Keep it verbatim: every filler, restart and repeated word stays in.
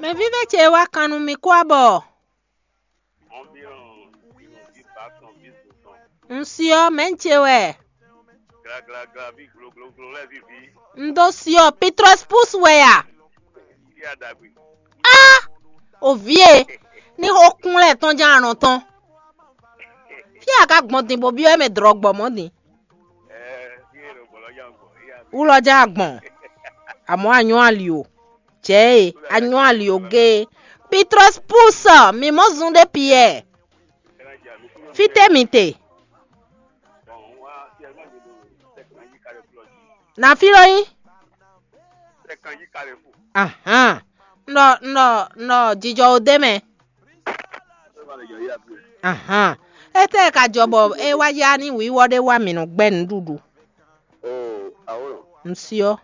Mɛvívɛ́ ce wá kan nú mi kó abɔ. Un si ɔ́, mɛ̌ ce wɛ? Un dó si ɔ́, Pitrɔs Pus wɛ a? Á, o vǐ e, ní xó kún lɛ́ɛ tɔn ján anɔ tɔn. Fí a ka gbɔn din bó byɔ́ mɛ dlɔ̌ gbɔ mɔ̌ din? Wú lɔ ján a gbɔn, amɔ̌ a nyɔ́ ali o. Jɛ̌ e, a nyɔ́ ali o géé. Pitrɔs Pus, mi mɔ̌ zun ɖé Piyɛ́ɛ. Fítɛ́ mi te? Na fí lɔ nyí? Ahán. Un ɖɔ un ɖɔ un ɖɔ jijɔ o dé mɛ. Ahán. Étɛ́ ka jɔ bɔ é wá yá ní wǐwɔ ɖé wá mǐ nɔ gbɛ́ nǔɖuɖu? Un syɔ́.